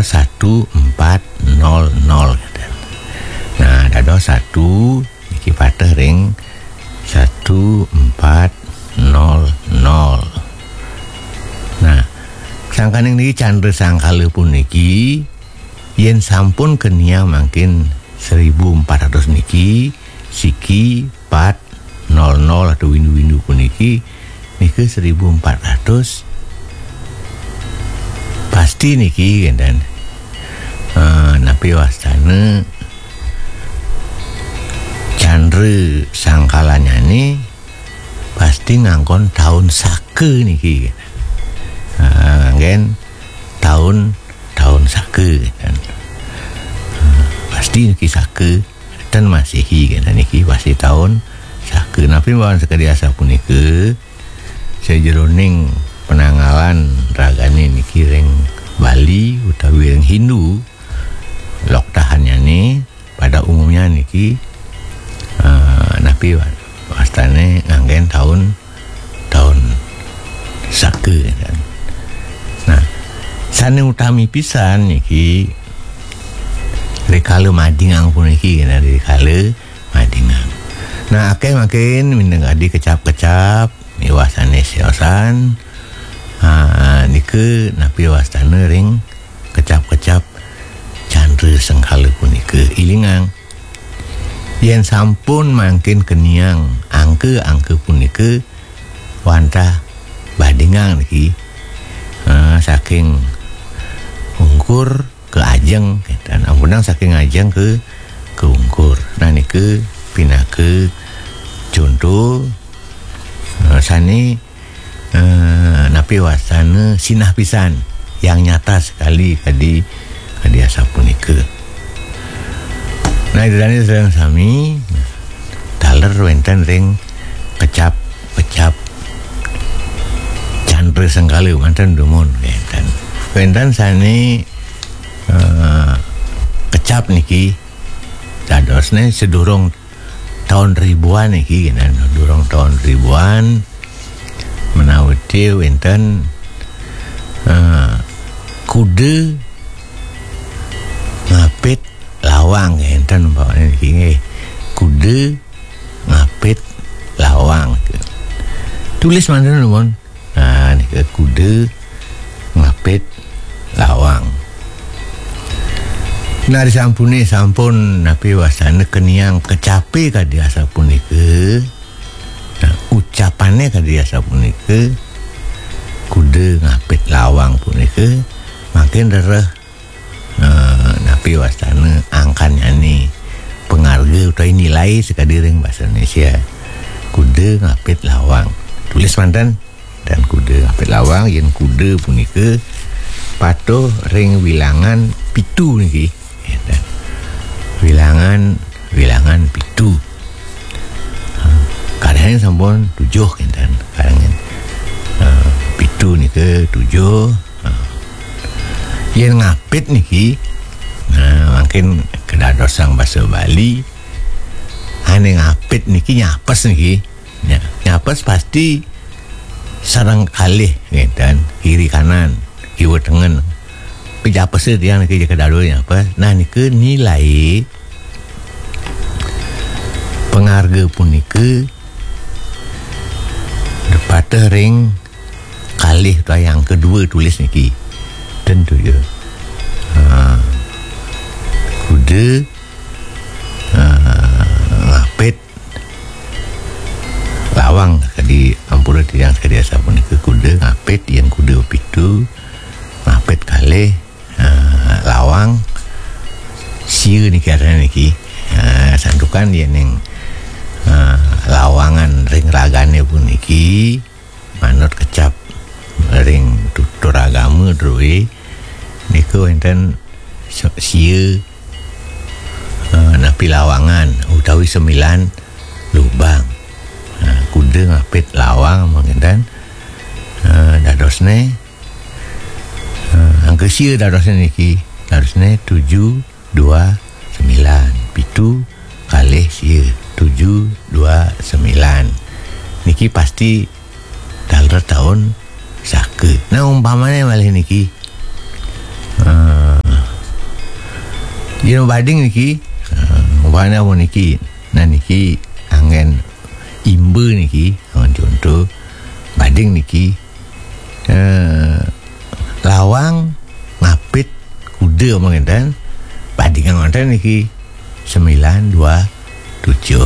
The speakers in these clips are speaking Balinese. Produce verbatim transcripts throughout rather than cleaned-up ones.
satu empat nol nol. Nah, dados satu niki pateh ring satu empat nol nol. Nah, sangkaning niki Candra Sangkala puniki, yen sampun keniang mangkin seribu empat ratus niki, siki, pat, nol nol atau windu-windu puniki, nika seribu empat ratus. Pasti niki, kenten. Eh, napi wastane Candra Sangkalanyane pasti nganggon taun Saka niki. Eh, nganggen taun, taun Saka, kenten. Eh, pasti niki Saka, ten Masehi, kenten niki pasti taun Saka. Napi mawon sakadi asapunika? Sajeroning penanggalan ragane niki ring Bali utawi ring Hindu, loktahannyane pada umumnya niki, eh, napi wa-, wastane nganggen taun, taun Saka, kan. Nah, sane utami pisan niki rikala madingang puniki, kan, rikala madingang. Nah, akeh mangkin minangka kadi kecap-kecap miwah sane siosan. Ah, nika napi wastane ring kecap-kecap Candra Sangkala punika. Ilingang, yen sampun mangkin keniang angka-angka punika wantah badingang niki, ah, saking ungkur ke ajeng, kenten. Ampunang saking ajeng ke, ke ungkur. Nah, nika pinaka conto, eh, sane, eh, napi wastane sinah pisan, yang nyata sekali kadi, kadi asapunika. Nah, ida dane sareng sami, taler wenten ring kecap-kecap Candra Sangkala manten dumun wenten. Wenten sane, eh, kecap niki dadosne sedurung taun ribuan niki, kenten, sedurung taun ribuan, menawi wenten, eh, kuda ngapit lawang, kenten umpamane niki nggih. Kuda ngapit lawang. Tulis manten nuwun. Nah, nika kuda ngapit lawang. Nah, disampune sampun napi wastane keniang kecape kadi asapunika. Nah, ucapane kadi asapunika, kuda ngapit lawang punika, mangkin rereh, eh, napi wastane angkannyane, pangarga utawi nilai sakadi ring basa Indonesia. Kuda ngapit lawang. Tulis manten, kenten, kuda ngapit lawang, yen kuda punika patuh ring wilangan pitu niki. Kenten. Wilangan, wilangan pitu. Ha, kadangin sampun tujuh, kenten. Kadangin, eh, pitu nika tujuh. Ha. Yen ngapit niki, nah, mangkin kadadosang basa Bali, ane ngapit niki nyapes niki. Nya, nyapes pasti sareng kalih, kenten, kiri kanan, kiwa tengen. Pejapese tiang niki ja kadadua nyapes. Nah, nika nilai pangarga punika pateh ring kalih utawi yang kedua tulis niki. Tentu ya. Ha. Kuda, ha, ngapit lawang, kadi ampura tiang sakadi asapunika, kuda ngapit, yen kuda pitu, ngapit kalih, eh, lawang, sia niki artine niki. Eh, santukan yen ing, eh, lawangan ring ragane puniki manut kecap ring tutur agama druwe, nika wenten se-, sia, eh, napi lawangan utawi sembilan lubang. Nah, kuda ngapit lawang mangkin, eh, dadosne, eh, angka sia dadosne niki, dadosne tujuh dua sembilan, pitu kalih sia, tujuh dua sembilan. Niki pasti taler taun Saka. Nah, umpamane malih niki, eh, Yen bading niki, eh, umpamane amun niki, nah niki anggen imba niki, anggen conto, bading niki, eh, lawang ngapit kuda mangkin ten, badingan wonten niki sembilan dua tujuh.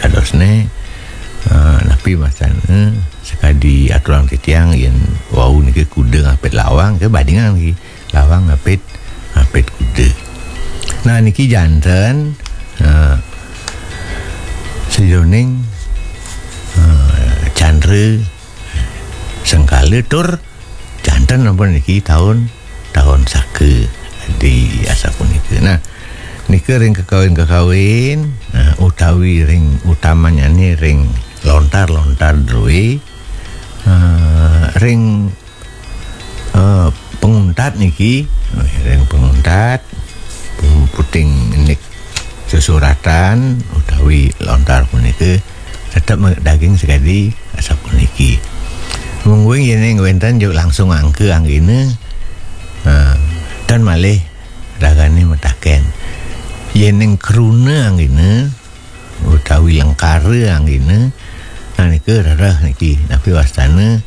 Dadosne, eh, napi mastane sakadi aturang titiang yen wau niki kuda ngapit lawang, ke badingan niki. Lawang ngapit, ngapit kuda. Nah, niki janten, eh, sajeroning, eh, candra sengkala tur janten ampun niki taun, taun saka di asapunika. Nah, nika ring kakawin-kakawin, eh, utawi ring utamanyane ring lontar-lontar druwe, eh, ring eh, panguntat niki, eh, ring panguntat, pun-, puting indik sesuratan utawi lontar punika tetep me-, daging sakadi asapuniki. Mungguing yen wenten juk langsung angka anggena, eh, tan malih ragane mataken. Yen ning kruna anggena, utawi lengkara anggena, nah, nika rereh niki, napi wastane,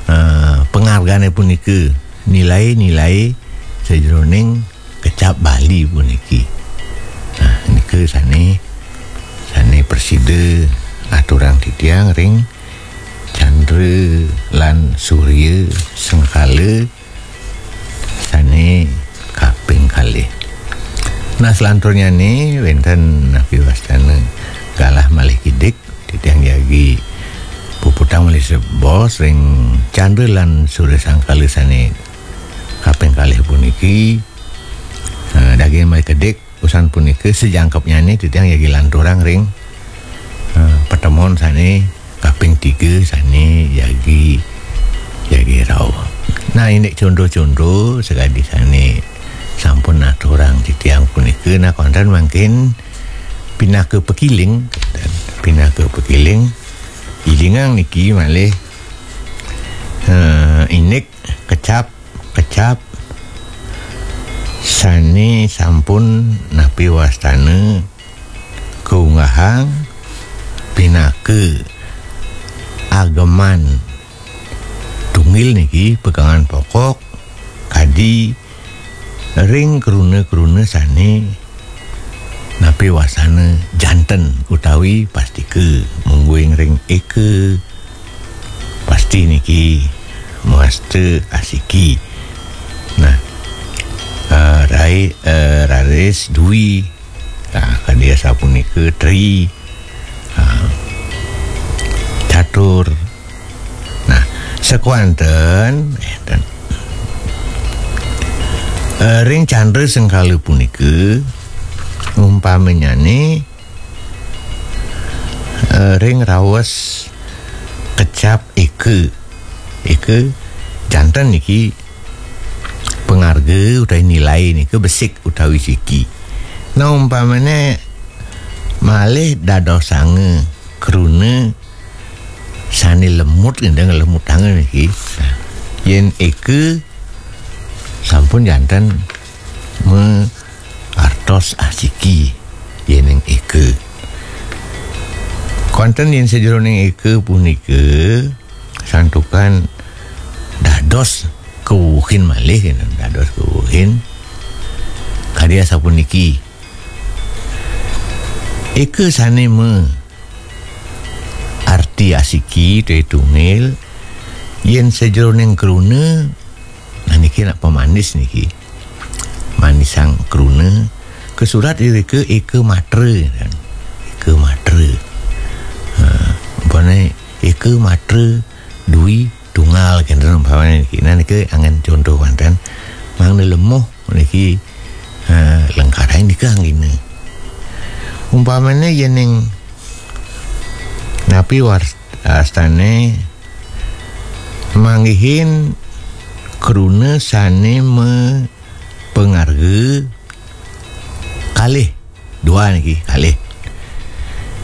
eh, pangargane punika, nilai-nilai sajeroning kecap Bali puniki. Nah, nika sane, sane prasida aturang titiang ring candra lan surya sengkala sane kaping kalih. Nah, selanturnyane wenten napi wastane galah malih kidik, titiang jagi puputang malih sebos ring candra lan surya sengkala sane kaping kalih puniki. Eh, daging malih kidik, usan punika sajangkepnyane titiang jagi lanturang ring, eh, patemon sane kaping tiga sane jagi, jagi rauh. Nah, indik conto-conto sakadi sane sampun aturang titiang punika, nah, konten mangkin pinaka pakiling, pinaka pakiling, ilingang niki malih, eh, indik kecap, kecap sane sampun napi wastane kaunggahang pinaka ageman tunggil niki pegangan pokok kadi ring kruna-kruna sane napi wastane janten utawi pastika, mungguing ring eka pasti niki mawasta asiki. Nah, eh, rai, eh, raris dwi. Nah, kadi asapunika tri. Ah, catur. Nah, sakewanten, eh, ring candra sengkala punika umpamanyane, eh, ring raos kecap eka. Eka janten niki pangarga utawi nilai nika besik utawi siki. Nah, umpamane malih dadosanga kruna sane lemut, ngendang lemutanga niki. Nah, yen eka sampun janten ma artos asiki yening eka. Konten yen sajeroning eka punika santukan dados kawuhin malih, dados kawuhin. Kadi asapuniki. Eka sane ma arti asiki te tunggil, yen sajeroning kruna, nah, niki nak pamanis niki. Manisang kruna, kasurat irika eka matra, kan. Eka matra. Ha, umpamane eka matra dwi tunggal kenten umpamane niki. Nah, nika anggen conto wenten. Mangda lemuh niki, eh, lengkarain nika anggena. Umpamane yening napi war-, wastane manggihin kruna sane mapangarga kalih. Dua niki, kalih.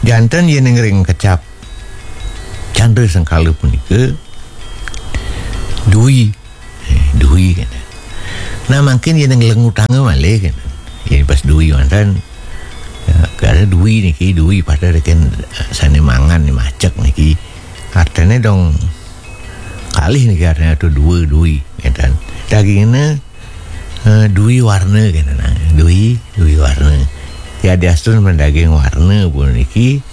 Janten yening ring kecap candra sengkala punika dwi. Eh, dwi kenten. Nah, mangkin yening lengutanga malih kenten. Jadi pas dui wonten, ya, kada dui niki, dui pada reken, eh, sane mangan ni macek niki. Artene dong kalih niki, artene tu dua dui, ngeten. Dagingnya, eh, dui warna, ngeten, nah, dui, dui warna. Ya, diastun mendaging warna puniki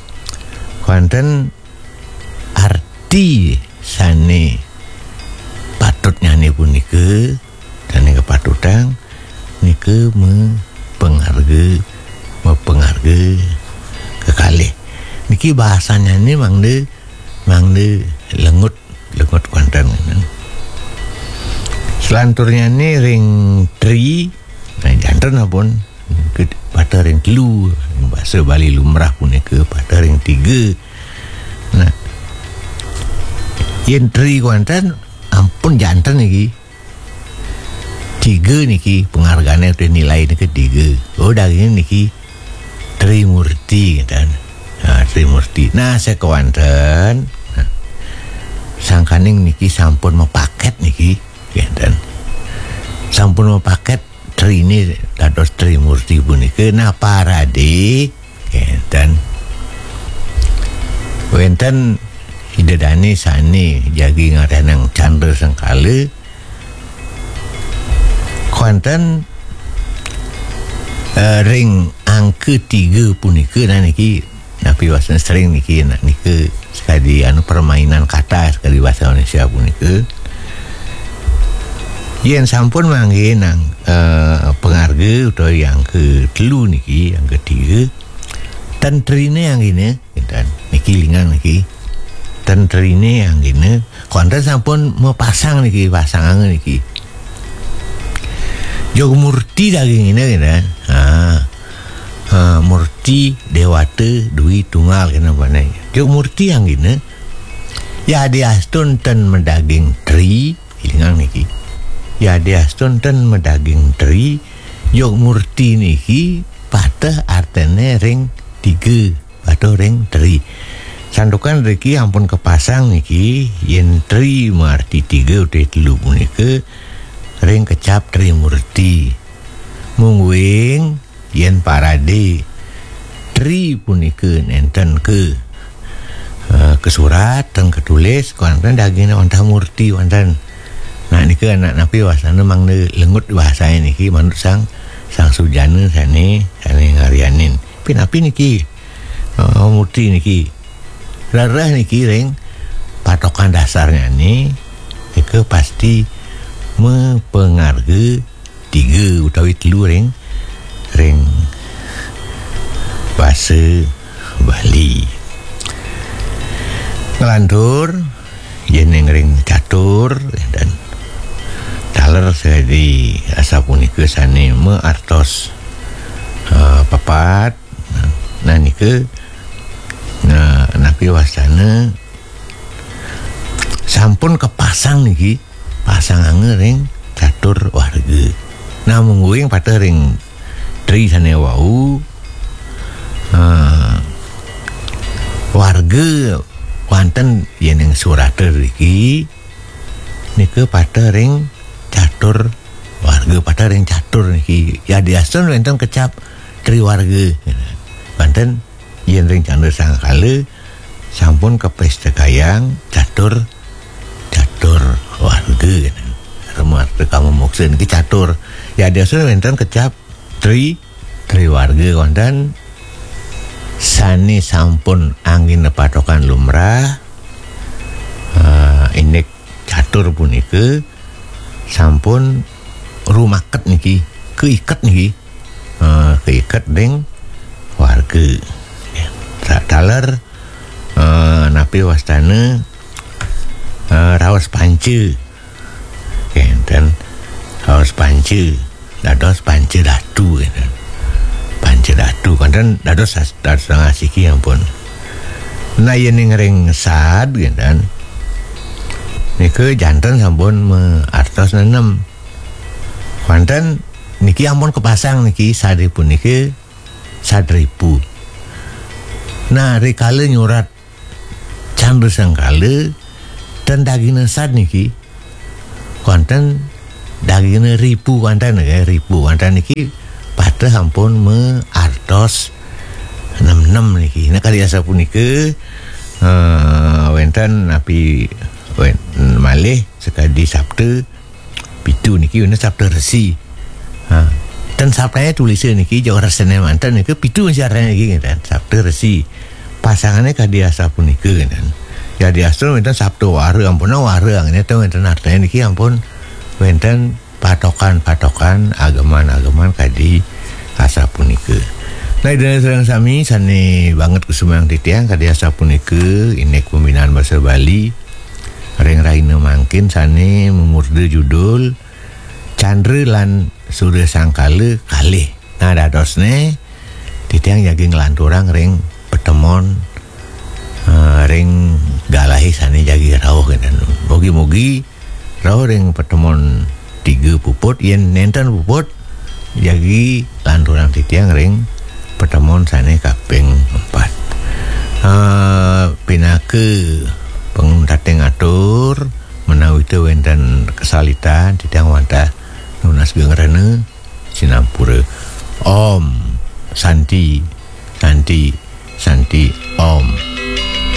wonten arti sane patutnyane punika, sane kapatutang nika mapangarga, mapangarga kekalih. Niki bahasanyane mangda, mangda lengut, lengut wonten. Selanturnyane ring tri, nah, janten ampun, ke-, pada ring telu, ring basa Bali lumrah punika pada ring tiga. Nah, yen tri wonten ampun janten niki. Tiga niki pangargane utawi nilai niki tiga. Oh, daging niki Trimurti, ngeten. Nah, Trimurti. Nah, sakewanten. Nah, sangkaning niki sampun mapaket niki, ngeten. Sampun mapaket trine dados Trimurti punika. Nah, parade, ngeten. Wenten Ida dane sane jagi ngarianang Candra Sengkala, wonten, eh, ring angka tiga punika, nah, niki napi wastan sering niki, nah, nika sakadi anu permainan kata sakadi bahasa Indonesia punika. Yen sampun manggihin, eh, pangarga utawi angka telu niki, angka tiga, ten trine anggina, ngeten. Niki lingang niki. Ten trine anggina, wonten sampun mapasang niki, pasanganga niki. Jog murti dagingina, ngeten. Ha. Ha, murti dewata dwi tunggal, ngeten, pane. Jog murti anggina. Yadiastun ten madaging tri, lingang niki. Yadiastun ten madaging tri, jog murti niki pateh artene ring tiga, pateh ring tri. Santukan riki ampun kapasang niki, yen tri maarti tiga utawi telu punika ring kecap Trimurti. Mungguing yen parade tri punika nenten ke, eh, kasurat, ten katulis, wonten dagingnya wantah murti wonten. Nah, nika anak napi wastana mangda lengut bahasanya niki manut sang, sang sujana sane, sane ngarianin. Pinapi niki, eh, murti niki. Rereh niki ring patokan dasarnyane nika pasti mapangarga tiga utawi telu ring, ring basa Bali. Nglantur, yening ring catur, dan taler sadi asapunika sane maartos, eh, papat. Nah, nika, nah, napi wastana sampun kapasang niki, pasanganga ring catur warga. Nah, mungguing pateh ring tri sane wau, eh, warga wonten yening surata riki, nika pateh ring catur warga, pateh ring catur niki. Yadiastun wenten kecap triwarga. Wonten yen ring Candra Sangkala sampun kapestekayang catur, catur warga. Rema arta kama moksa niki catur. Yadiastun wenten kecap tri, triwarga wonten sane sampun anggina patokan lumrah, eh, indik catur punika sampun rumaket niki, kaiket niki, eh, kaiket ring warga. Ta-, taler, eh, napi wastana, eh, raos panca. Kenten, raos panca. Dados panca datu, kenten. Panca datu, kenten dados as-, dados asiki ampun. Nah, yening ring sad, kenten. Nika janten sampun maartos nenem. Kenten niki ampun kapasang niki, sad puniki sad ripu. Nah, rikala nyurat Candra Sangkala, ten dagingna sad niki, wonten dagingna ripu wonten, nggih, ripu wonten niki Teh ampun meartos enam enam niki. Nah, kadi asapunika, eh, wenten napi wen-, malih sakadi Sapta pitu niki wenten Sapta Resi. Ha. Ten Saptanya tulisnya niki, jauh rasanya manten niki pitu masih artinya niki, ngeten. Sapta Resi. Pasangannya kadi asapunika, ngeten. Jadi Astro wenten Sapta Wara, ampun Wara, ngeten, wenten artinya niki ampun wenten patokan-patokan ageman-ageman kadi asapunika. Nah, Ida sareng sami sane banget kusumayang titiang kadi asapunika, indik pembinaan basa Bali ring rahina mangkin sane mamurda judul Candra lan Surya Sangkala kalih. Nah, dadosne titiang jagi nglanturang ring patemon, eh, ring galahe sane jagi rauh, ngeten. Mugi-mugi rauh ring patemon tiga puput, yen nenten puput, jagi lanturang titiang ring patemon sane kaping empat. Eh, pinaka panguntating atur, menawi wenten kesalitan, titiang wantah nunas geng rena, sinampura. Om Santi, Santi, Santi, Om.